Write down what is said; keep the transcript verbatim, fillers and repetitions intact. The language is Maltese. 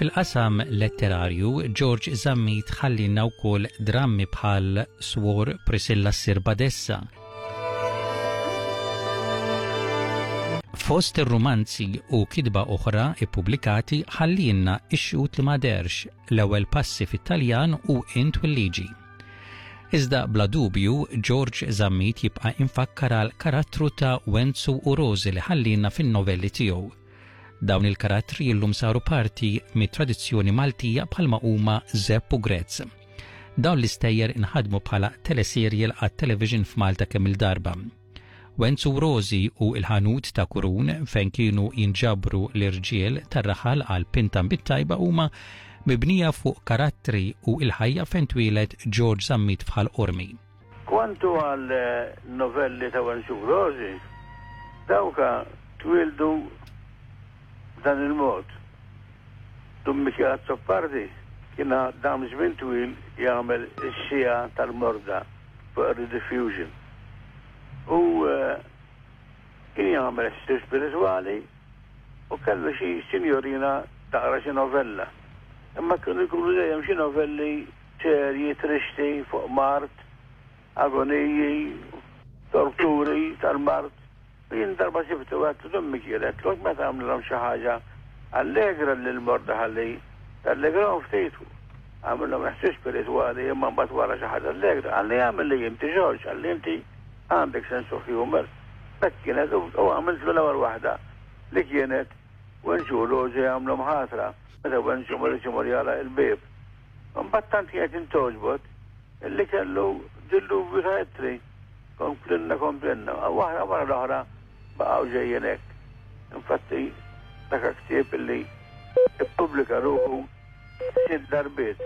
Fil-qasam letterarju, George Zammit ħallielna wkoll drammi bħal Swor Priscilla ssir Badessa. Fost ir-rumanzi u kitba oħra ippubblikati ħallielna Ix-Xhud li ma deherx, L-ewwel passi fit-Taljan u Int u l-Liġi. Iżda bla dubju George Zammit jibqa' infakkar għal karattru ta' Wenzu u Rosi li ħallielna fin-novelli tiegħu. Dawn il-karattri illum saru parti mit-tradizzjoni Maltija bħalma huma Zepp u Grezz. Dawn l-istejjer inħadmu bħala teleserjel għat-television f'Malta kemm il-darba. Wenzu Rosi u il-ħanut ta' Kurun fejn kienu jinġabru l-irġiel tar-raħal għal pinta bit-tajba huma mibnija fuq karattri u il-ħajja fejn twieled George Zammit f'Ħal Qormi. Kwantu għal novelli ta' Wenzu Rosi, dawka twieldu b'dan il-mod. Dun Mikiel Azzopardi kien dam żmien twil jagħmel is-siegħa tal-morda fuq ir-rediffusion. U kien jagħmel ħsieb spiritwali u kellu xi sinjorina taqra xi novella. Imma kienu jkunu dejjem xi novelli serji, tristi fuq mart, agoniji, torturi tal-mart. Jien darba sibtu għedtlu Dun Mikiel, għedtlu meta għamlilhom xi ħaġa allegra lil morda ħalli tallegrahom ftit. Għamilhom ħsieb spiritwali imma mbagħad wara xi ħaġa allegra. Qalli għamel li inti Ġorġ, qalli inti għandek sense of humor. Hekk kienet u għamiltlu l-ewwel waħda li kienet Wenzu u Rosi għamlu mħatra meta Wenzu ma riedx imur jagħlaq il-bieb. Imbagħad tant kienet intogħġbot illi kellu dilluvju ta' ittri. Komplinna, komplinna, waħda wara l-oħra baqgħu ġejjin hekk. Infatti dak ktieb illi ippubblika ruħu sitt darbiet.